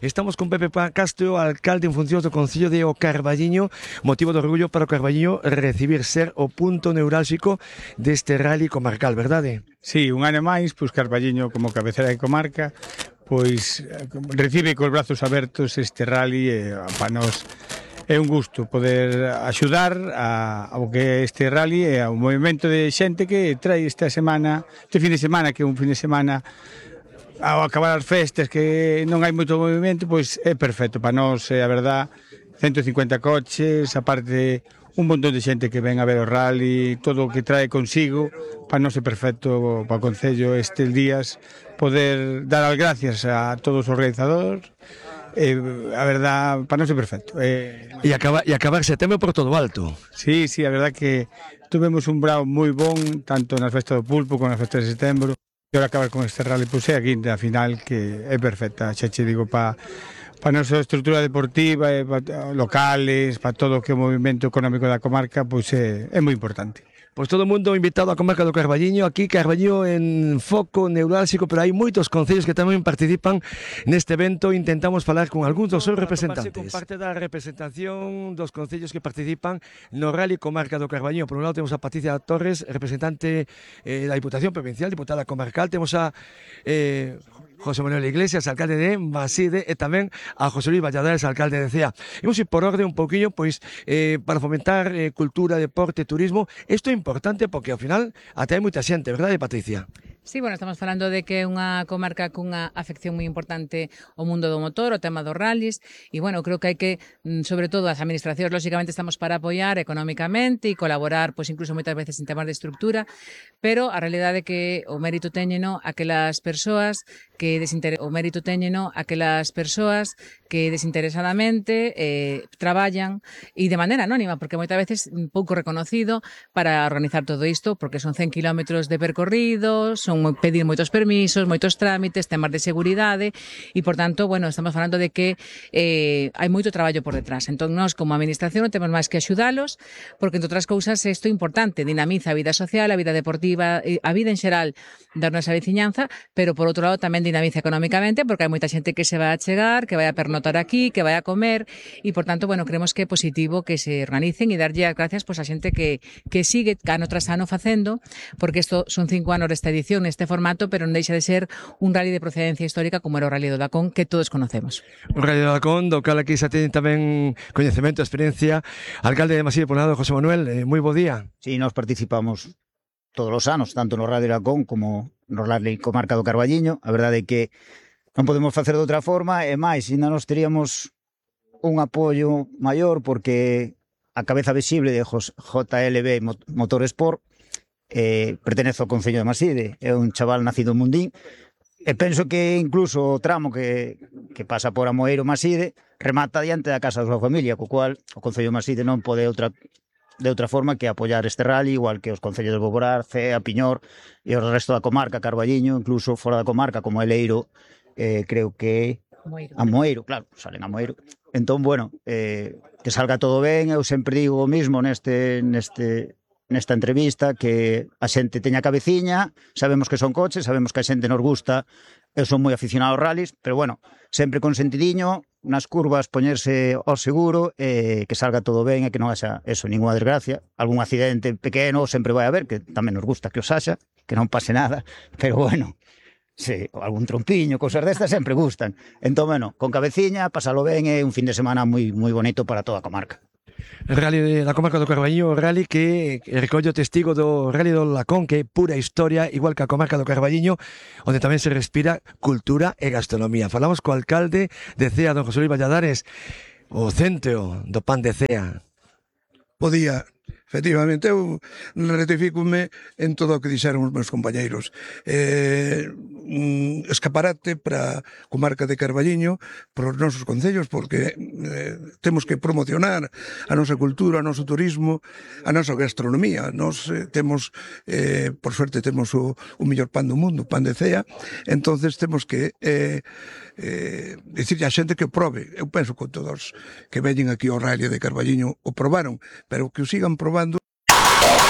Estamos con Pepe Castro, alcalde en funcións do Concello de O Carballiño. Motivo de orgullo para o Carballiño recibir ser o punto neurálxico deste rally comarcal, verdade? Sí, un ano máis, pois Carballiño como cabecera de comarca, pois recibe cos brazos abertos este rally e para nós é un gusto poder axudar ao que este rally e ao movimento de xente que trae esta semana, este fin de semana, que é un fin de semana ao acabar as festas que non hai moito movimento, pois é perfecto para nós, a verdad, 150 coches, aparte un montón de xente que ven a ver o rally, todo o que trae consigo, para nós é perfecto para o Concello estes días poder dar as gracias a todos os organizadores. A verdad, para nós é perfecto. E acabar setembro por todo o alto. Sí, a verdad que tuvemos un brao moi bon, tanto nas festas do Pulpo como nas festas de setembro. E ahora acabar con este rally, pois é a quinta final que é perfecta, xa che digo, para a nosa estrutura deportiva, para locales, para todo o que é o movimento económico da comarca, pois é moi importante. Pois todo o mundo invitado á comarca do Carballiño, aquí Carballiño en foco neurálxico, pero hai moitos concellos que tamén participan neste evento. Intentamos falar con algúns dos seus representantes. Con parte da representación dos concellos que participan no Rally Comarca do Carballiño. Por un lado temos a Patricia Torres, representante da Diputación Provincial, diputada comarcal. Temos a José Manuel Iglesias, alcalde de Maside, e tamén a José Luis Valladares, alcalde de Cea. Imos ir por orde un pouquiño, pois, para fomentar cultura, deporte, turismo. Isto é importante porque, ao final, até hai moita xente, verdade, Patricia? Sí, bueno, estamos falando de que é unha comarca cunha afección moi importante ao mundo do motor, o tema dos rallies, e, bueno, creo que hai que, sobre todo, as administracións, lógicamente, estamos para apoiar económicamente e colaborar, pois, incluso moitas veces en temas de estructura, pero a realidade é que o mérito téñeno aquelas persoas que desinteresadamente traballan e de maneira anónima, porque moitas veces pouco reconocido para organizar todo isto, porque son 100 kilómetros de percorrido, son pedir moitos permisos, moitos trámites, temas de seguridade e, por tanto, bueno, estamos falando de que hai moito traballo por detrás. Entón, nós, como administración, non temos máis que axudalos, porque, entre outras cousas, isto é importante, dinamiza a vida social, a vida deportiva, a vida en xeral da nosa veciñanza, pero, por outro lado, tamén dinamiza económicamente, porque hai moita xente que se vai a chegar, que vai a pernotar aquí, que vai a comer, e, por tanto, bueno, creemos que é positivo que se organicen e darlle as gracias pois, a xente que sigue ano tras ano facendo, porque isto son 5 anos desta edición, neste formato, pero non deixa de ser un rally de procedencia histórica como era o Rally do Dacón, que todos conocemos. O Rally do Dacón, do cal aquí xa ten tamén coñecemento, experiencia. Alcalde de Maside, por un lado, José Manuel, moi bo día. Sí, nós participamos todos os anos, tanto no Rally do Dacón como no Rally Comarca do Carballiño. A verdade é que non podemos facer de outra forma, e máis, ainda nos teríamos un apoio maior, porque a cabeza visible de JLB Motorsport pertenece ao Concello de Maside, é un chaval nacido en Mundín, e penso que incluso o tramo que pasa por Amoeiro Maside remata diante da casa da súa familia, co cual o Concello de Maside non pode de outra forma que apoiar este rally, igual que os concellos de Boborás, Cea, Piñor e o resto da comarca, Carballiño, incluso fora da comarca como Eleiro, creo que Amoeiro, claro, salen Amoeiro. Entón, bueno, que salga todo ben. Eu sempre digo o mismo nesta entrevista, que a xente teña cabeciña, sabemos que son coches, sabemos que a xente nos gusta, eu son moi aficionado aos rallies, pero bueno, sempre con sentidiño, nas curvas poñerse ao seguro, que salga todo ben e que non haxa eso, ninguna desgracia, algún accidente pequeno sempre vai haber, que tamén nos gusta que os haxa, que non pase nada, pero bueno, sí, algún trompiño, cosas destas sempre gustan. Entón, bueno, con cabeciña, pasalo ben, é un fin de semana moi bonito para toda a comarca. El Rally da comarca do Carballiño, o rally que recolle o testigo do Rally do Lacón, que é pura historia, igual que a comarca do Carballiño, onde tamén se respira cultura e gastronomía. Falamos co alcalde de Cea, don José Luis Valladares, o centro do pan de Cea. Bo día. Efectivamente, eu rectifícome en todo o que dixeron os meus compañeiros. Un escaparate para a comarca de Carballiño, para os nosos concellos, porque temos que promocionar a nosa cultura, o noso turismo, a nosa gastronomía. Nos temos, por suerte, temos o mellor pan do mundo, o pan de Cea, entonces temos que dicirlle a xente que o probe. Eu penso que todos que veñen aquí ao Rally de Carballiño o probaron, pero que o sigan probando